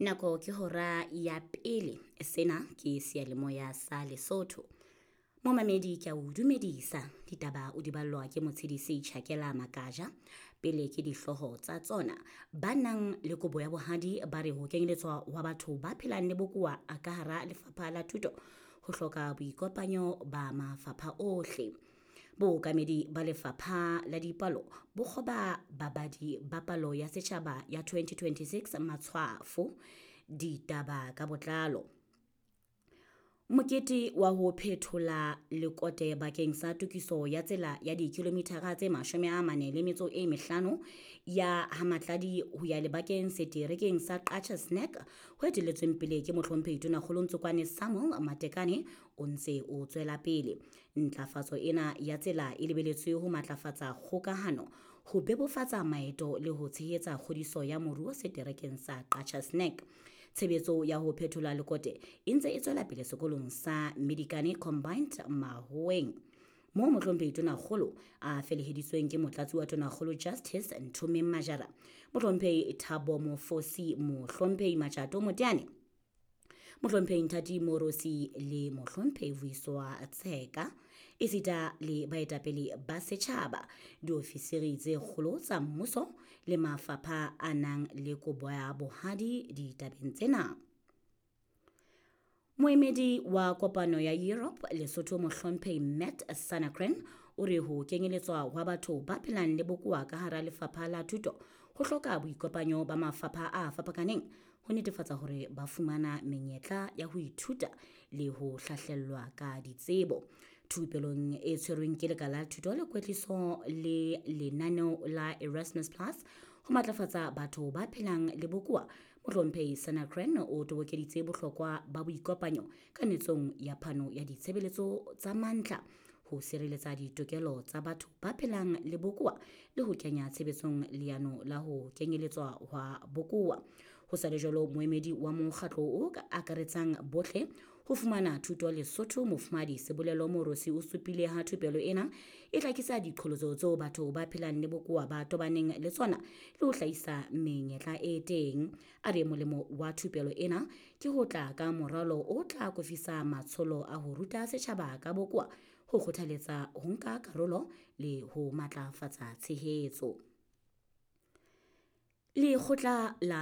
Nako ke hora ya pele. Sena ke seyalemoya sa Lesotho. Momamedi ke a o dumedisa. Ditaba o di ballwa ke motshedisi Tjhakela Makaja. Pele ke dihlooho tsa tsona. Ba nang le kobo ya bohadi ba re ho kenyeletswa wa batho ba phelang le bokowa ka hara lefapha la thuto ho hloka boikopanyo ba mafapha ohle. Bookamedi ba lefapha la dipalo bo kgoba babadi ba palo ya setjhaba ya 2026 matshwafo. Ditaba ka botlalo. Mokete wa ho phethola lekote bakeng sa tokiso ya tsela ya dikilomithara tse 45 ya Hamatladi ho ya lebakeng seterekeng sa Qacha's Nek ho etelletsweng pele ke mohlomphehi Tonakgolo Ntsokoane Samuel Matekane o ntse o tswela pele. Ntlafatso ena ya tsela e lebeletswe ho matlafatsa kgokahano, ho bebofatsa maeto le ho tshehetsa kgodiso ya moruo seterekeng sa Qacha's Nek. Tshebetso ya ho phethola lekote e ntse e tswela pele sekolong sa Medikane Combined Mahoeng moo mohlomphehi Tonakgolo a feleheditsweng ke motlatsi wa Tonakgolo Justice Nthomeng Majara, mohlomphehi Thabo Mofosi, mohlomphehi Matjato Moteane, mohlomphehi Nthati Morosi le mohlomphehi Vuyiswa Tsheka, esita le baetapele ba setjhaba, diofisiri tse kgolo tsa mmuso le mafapha a nang le kobo ya bohadi ditabeng tsena. Moemedi wa kopano ya Europe Lesotho mohlomphehi Matt Sanakren o re ho kenyeletswa hwa batho ba phelang le bokowa ka hara lefapha la thuto ho hloka boikopanyo ba mafapha a fapakaneng ho netefatsa hore ba fumana menyetla ya ho ithuta le ho hlahlellwa ka ditsebo. Thupelong e tshwerweng ke lekala la thuto le kwetliso le lenaneo la Erasmus Plus ho matlafatsa batho ba phelang le bokowa, mohlomphehi Sanakren o tobokeditse bohlokwa ba boikopanyo kanetsong ya phano ya ditshebeletso tsa mantlha ho sireletsa ditokelo tsa batho ba phelang le bokowa le ho kenya tshebetsong leano la ho kenyeletswa hwa bokowa. Ho sa le jwalo, moemedi wa mokgatlo o akaretsang bohle ho fumana thuto Lesotho mofumahadi Sebolelo Morosi o supile ha thupelo ena e hlakisa diqholotso tseo batho ba phelang le bokowa ba tobaneng le tsona le ho hlahisa menyetla e teng. A re molemo wa thupelo ena ke ho tla ka moralo o tla akofisa matsholo a ho ruta setjhaba ka bokowa, ho kgothaletsa ho nka karolo le ho matlafatsa tshehetso. Lekgotla la